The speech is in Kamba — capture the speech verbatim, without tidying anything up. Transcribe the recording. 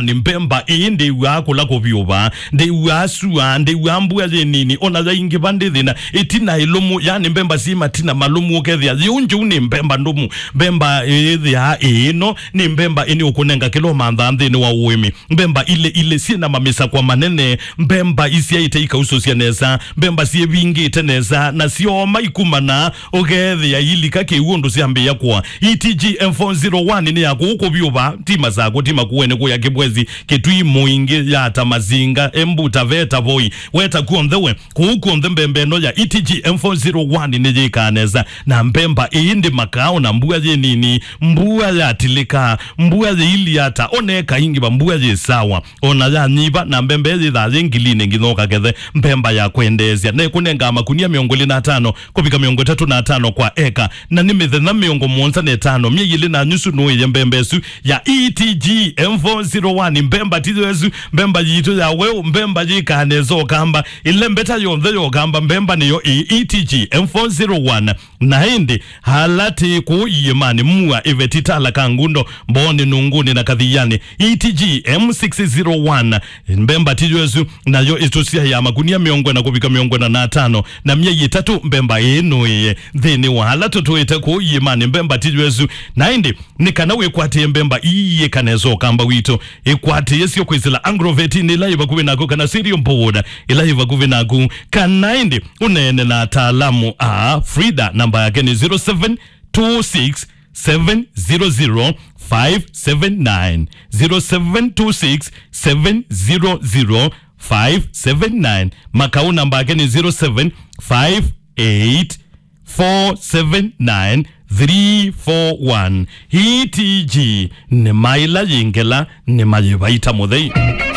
Nĩ mbemba ĩĩ ndĩw'aa kũla kũvyũva, ndĩw'aa sua, ndĩw'aa mbua yĩ nini, ona yaingĩva ndĩthĩna, ĩtina ĩlũmu, yani mbemba syĩ matina malũmu, ũkethĩa yĩu njũu nĩ mbemba ndũmu. Mbemba ĩthĩaa ĩĩ no nĩ mbemba ĩnĩ ũkũnenga kĩla ũmanthaa nthĩnĩ wa ũĩmi. Mbemba ilĩ ilĩ syĩ na mamisakwa manene, mbemba isyaĩte ikausũsya nesa, mbemba syĩvingĩte nesa, na syooma ikumana, ũkethĩa ilika kĩw'ũ ũndũ syambĩĩa kũa. E T G M four zero one nĩ ya kũu kũvyũva, ti Masakũ, ti Makueni, kũya Kĩbwezi, Kĩtui, Mũingĩ, Yata, Masinga, Embu, Taveta, Voi, weta kw'onthe we, kũu kw'onthe mbemba ĩno ya E T G M four zero one nĩ yĩkaa nesa, na mbemba ĩĩ ndĩmakaa ona mbua yĩ nini, mbua yatilĩka, mbua yĩilyata, oneka ingĩ va mbua yĩ sawa. Ona yanyiva, na mbemba ĩyĩthaa yĩ ngilinĩ nginya ũkakethe mbemba ya kwendeesya. Na ĩkũnengaa makunia mĩongo ĩlĩ na atano kũvika mĩongo ĩtatũ na atano kwa eka, na nĩ mĩthenya mĩongo mũonza na ĩtano, myei ĩlĩ na nyusu nũĩe mbemba ĩsu ya E T G M four zero one. Mbemba tiyo ĩsu, mbemba yitũ ya weũ, mbemba yĩkaa nesa ũkamba, ĩlembeta yonthe ya ũkamba, mbemba nĩyo ĩ E T G M four zero one. Na ĩndĩ, ala tĩ kũu iĩmanĩ, mua ĩveti tala ka ngundo, mboonĩ, nungũnĩ na kathianĩ, E T G M six zero one, mbemba tiyo ĩsu, nayo ĩtũsyaĩa makunia mĩongo ĩna kũvika mĩongo ĩna na atano, na myei ĩtatũ mbemba ĩĩ nũĩe. Nthĩnĩ wa ala tũtũĩte kũu iĩmanĩ, mbemba tiyo ĩsu. Na ĩndĩ, nĩ kana wĩkwatĩe mbemba ii yĩka nesa ũkamba witũ, ĩkwatĩe syo kwĩsĩla Agrovetinĩ ĩla yĩ vakuvĩ naku kana Cereal Board ĩla yĩ vakuvĩ naku, kana ĩndĩ ũneene na ataalamu a Frida. Namba yake nĩ zero seven two six seven zero zero five seven nine, zero seven two six seven zero zero five seven nine. Makau namba yake nĩ zero seven five eight four seven nine three four one. E T G nĩ maila yĩngela nĩ mayĩvaita mũthei.